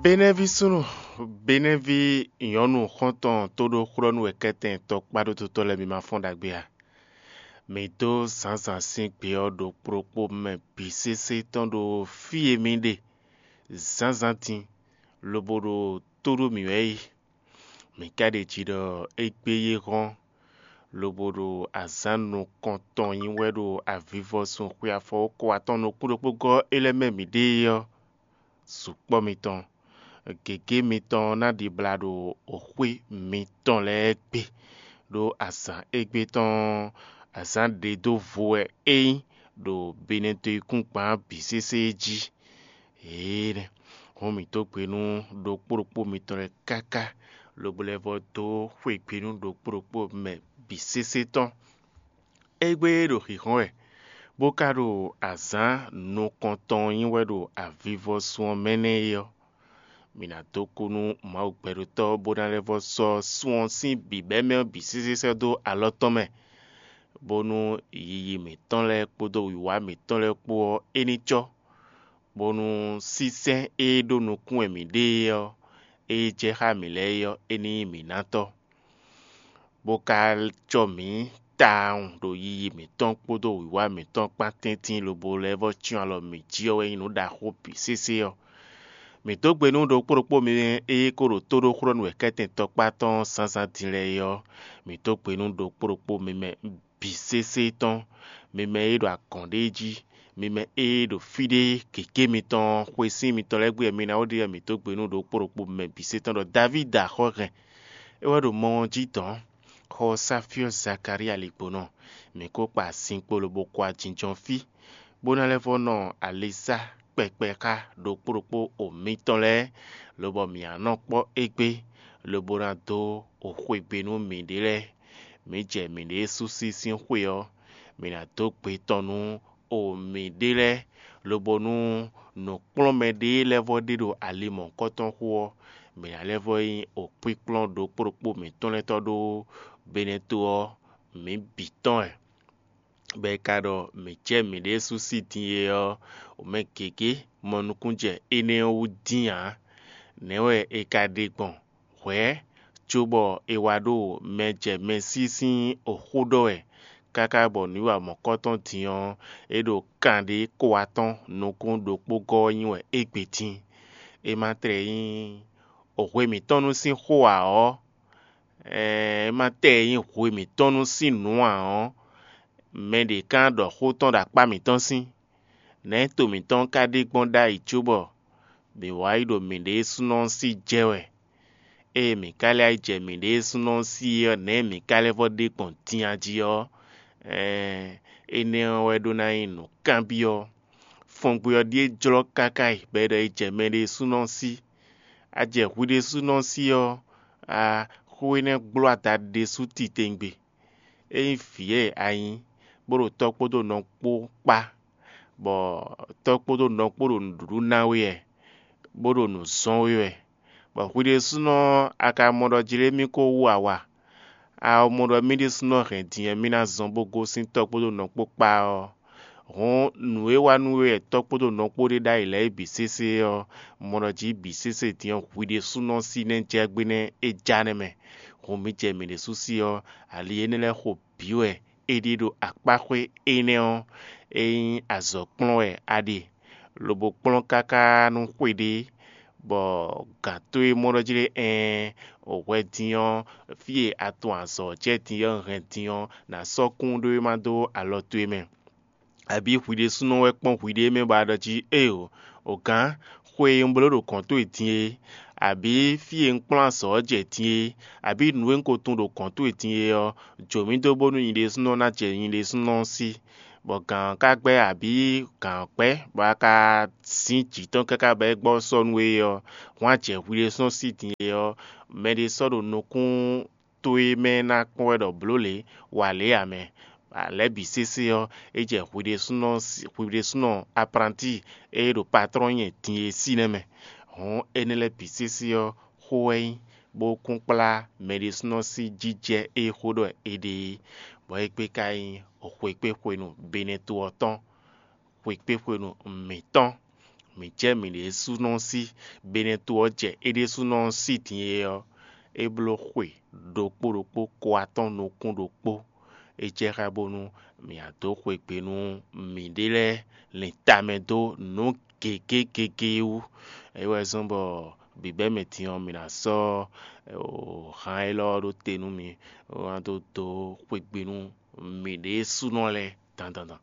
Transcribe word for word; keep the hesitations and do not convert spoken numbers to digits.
Benɛ́ví súnnu, Benɛ́ví nyɔ̌nu xɔ́ntɔn tóɖóxlɔ́nú wɛ kɛ́tɛn tɔkpá ɖó dotɔ́ lɛ́ɛ mi ma fɔ́n ɖagbe a? Mi dó zǎnzǎn sín gbe ɔ́ ɖokpó ɖokpó mɛ bǐ sésé tɔn ɖo fí e mi ɖe zǎnzǎn din, lobo ɖo tó ɖó mǐ wɛ é. Mǐ ka ɖeji ɖɔ égbé yi hɔ́n, lobo ɖo azǎn nukɔntɔn nyi wɛ ɖo avivɔsun xwe afɔwókɔ atɔn nukún ɖokpó gɔ́ é lɛ́ɛ mɛ mǐɖée ɔ́, sukpɔ́ mitɔn, gěgé mitɔn ná ɖibla ɖo xwé mitɔn lɛ́ɛ gbe, ɖó azǎn égbé tɔn ɔ́, azǎn ɖe dó vo wɛ é nyí ɖo Benɛtɔyikúngban bǐ sésé jí. Énɛ́ hɔn mǐ dó gbe nú ɖokpó ɖokpó mitɔn lɛ́ɛ káká, lobo lɛ́ vɔ́ dó xwegbe nú ɖokpó ɖokpó mɛ bǐ sésé tɔn. Égbé e ɖo xixɔ́n wɛ, bó ka ɖo azǎn nukɔntɔn nyí wɛ ɖo avivɔsun ɔ́ mɛ nɛ́ é ɔ́, mǐ ná dó kú nú Mawu gbɛɖotɔ́ bó ná lɛ́ vɔ́ sɔ́ sun ɔ́ sín bǐbɛ́mɛ ɔ́ bǐ sésé sɛ́ dó alɔ tɔn mɛ, bónú yiyi mǐtɔn lɛ́ɛ kpódó wǐwá mǐtɔn lɛ́ɛ kpó ɔ́, é ní cɔ́, bónú sínsɛ́n e ɖó nukún wɛ mǐ ɖe é ɔ́, e jɛ xá mǐ lɛ́ɛ é ɔ́, é ní nyí mǐ ná tɔ́, bó ka cɔ́ mǐ tawun ɖo yiyi mǐtɔn kpódó wǐwá mǐtɔn kpán tɛ́ntin lobo lɛ́ vɔ́ cyɔ́n alɔ mǐ jí ɔ́ wɛ nyí nǔ ɖaxó bǐ sésé ɔ́. Mǐ dó gbe nú ɖokpó ɖokpó mi e ko ɖo tóɖóxlɔ́nú wɛ kɛ́tɛn tɔkpá tɔn zǎnzǎn din lɛ́ɛ é ɔ́, mǐ dó gbe nú ɖokpó ɖokpó mi mɛ bǐ sésé tɔn, mi mɛ e ɖo agɔ̌n ɖé jí, mi mɛ e ɖo fí ɖé gěgé mitɔn xwesín mitɔn lɛ́ɛ gbe wɛ mi ná wó ɖe wɛ mǐ dó gbe nú ɖokpó ɖokpó mi mɛ bǐ sésé tɔn ɖɔ Davídi axɔ́ hɛn. É wɛ ɖo mɔ ɔ́ jí dɔ̌n, xɔ Sáfyɔ́ Zakalía ligbonɔ, mǐ ko kpa zinkpo lobo kɔ ajínjɔ́n fí, bó ná lɛ́ vɔ́ nɔ alisá kpɛkpɛ xá ɖokpó ɖokpó o mitɔn lɛ́ɛ, lobɔ mǐ ná nɔ kpɔ́ égbé, lobo ná dó o xwegbe nú mǐɖée lɛ́ɛ. Mǐ jɛ mǐɖée sú sí sín xwe ɔ́, mǐ ná dó gbe tɔn nú o mǐɖée lɛ́ɛ, lobo nú nǔkplɔ́nmɛ ɖé lɛ́ɛ vɔ́ ɖe ɖo ali mɔ̌hunkɔtɔn xo ɔ́, mǐ ná lɛ́ vɔ́ nyí okpínkplɔ́n ɖokpó ɖokpó mǐtɔn lɛ́ɛ tɔn ɖó Benɛto ɔ́, mǐ bǐ tɔn wɛ. Bɔ è ka ɖɔ mǐ jɛ mǐɖée sú sí din é ɔ́, wǒ mɛ gěgé mɔ nukúnjɛ énɛ́ ɔ́ wú dín ǎ. Nɛ̌ wɛ è ka ɖe gbɔn? Hwɛ̌, cóbɔ è wá ɖo mɛ jɛ mɛ sí sín xó ɖɔ wɛ, káká bɔ nǔwiwa mɔ̌kɔtɔn din ɔ́, é ɖo kanɖé kó atɔ́n nukún ɖokpó gɔ́ ɔ́ nyi wɛ égbé dín. É ma tlɛ nyí hwe mǐtɔn nu sín xó ǎ ɔ́, é ma tlɛ nyí hwe mǐtɔn nu sín nǔ ǎ ɔ́, mɛ ɖě ka ɖɔ xó tɔn ɖo akpá mǐtɔn sín. Nɛ̌ to mǐtɔn ka ɖe gbɔn ɖ'ayǐ cóbɔ mǐ wá yi ɖo mǐɖée súnnu ɔ́ sí jɛ wɛ? Ée mǐ ka lɛ́ yi jɛ mǐɖée súnnu ɔ́ sí ɔ́, nɛ̌ mǐ ka lɛ́ vɔ́ ɖe gbɔn din a jí ɔ́, ɛɛn, énɛ́ ɔ́ wɛ ɖó ná nyí nǔkanbyɔ́. Fɔngbe ɔ́ ɖíe jlɔ́ káká yi bɔ è ɖɔ è jɛ mɛɖée súnnu ɔ́ sí. A jɛ hwi ɖésúnɔ sí ɔ́, a xó énɛ́ gbló ada ɖésú titewungbe. Ényí vǐ e a nyí, bó ɖo tɔ́ kpódó nɔ kpó kpá, bɔ tɔ́ kpódó nɔ kpó ɖo nǔɖuɖu ná we wɛ, bó ɖo nǔ zɔ́n we wɛ, bɔ hwi ɖésúnɔ a ka mɔ ɖɔ jlé mì ko wú awa, a mɔ ɖɔ mì ɖésúnɔ hɛn din e mì ná zɔ́n bó gosín tɔ́ kpódó nɔ kpó kpá ɔ́, hǔn nǔ e wa nú we wɛ tɔ́ kpódó nɔ kpó ɖe ɖ'ayǐ lɛ́ɛ é bǐ sésé ɔ́, mɔ ɖɔ jí bǐ sésé din ɔ́ hwi ɖésúnɔ sí nɛ́ jɛ gbé nɛ́ é já nɛ́ mɛ. Hǔn mǐ jɛ mǐ ɖésú sí ɔ́, ali énɛ́ lɛ́ɛ xo bǐ wɛ é ɖe ɖo akpáxwé énɛ́ ɔ́, é nyí azɔ̌ kplɔ́n wɛ a ɖe, lobo kplɔ́n káká nú xwe ɖé, bɔ gǎn towe mɔ ɖɔ jí ɖé ɛɛn, o hwɛ din ɔ́, fí e a tunwun azɔ̌ jɛ din ɔ́ hɛn din ɔ́, nǎ sɔ́ kún ɖó é ma dó alɔ towe mɛ. Abǐ hwi ɖésúnɔ wɛ kpɔ́n hwiɖée mɛ bɔ a ɖɔ jí éeǒ, o gǎn, xwe e un bló ɖo gɔ̌n towe din é, abǐ fí e un kplɔ́n azɔ̌ ɔ́ jɛ din é, abǐ nǔ e un ko tunwun ɖo gɔ̌n towe din é ɔ́, jǒ mì dó bónú nyi ɖésúnɔ ná jɛ nyi ɖésúnɔ ɔ́ sí. Bɔ gǎn ɔ́ ka gbɛ́ abǐ gǎn ɔ́ kpɛ́, bɔ a ka zǐn jǐ tɔn káká bɔ é gbɔ sɔ́ nú we ɔ́, hwǎn jɛ hwi ɖésúnɔ sí din é ɔ́, mɛɖé sɔ́ ɖo nukún towe mɛ ná kpɔ́n wɛ ɖɔ blǒ lě, wa lě ǎ mɛ. Lɛ̌ bǐ sésé ɔ́, é jɛ hwi ɖésúnɔ hwi ɖésúnɔ apranti e ɖo patlɔ́n nyɛ din e sí nɛ́ mɛ. Hǔn énɛ́ lɛ́ɛ bǐ sésé ɔ́, xó wɛ nyí, bó kún kplá mɛ ɖésúnɔ sín jijɛ e xó ɖɔ è ɖe é, bɔ é gbé ka nyí xwekpéxwenu Benɛto ɔ́ tɔn, xwekpéxwenu mǐtɔn. mǐ jɛ mǐ ɖésúnɔ sí, benɛ́ to ɔ́ jɛ é ɖésúnɔ sí din é ɔ́, é bló xwe ɖokpó ɖokpó ko atɔ́ɔ́n nukún ɖokpó. É jɛ xá bónú mǐ wá dó xwegbe nú mǐɖée lɛ́ɛ lin tamɛ dó nǔ gěgé gěgé wú. É wɛ zɔ́n bɔ bǐbɛ́mɛ din ɔ́, mǐ ná sɔ́ han élɔ́ ɔ́ ɖó te nú mi, bó ná dó dó xwegbe nú mǐɖée súnɔ lɛ́ɛ dandan dan.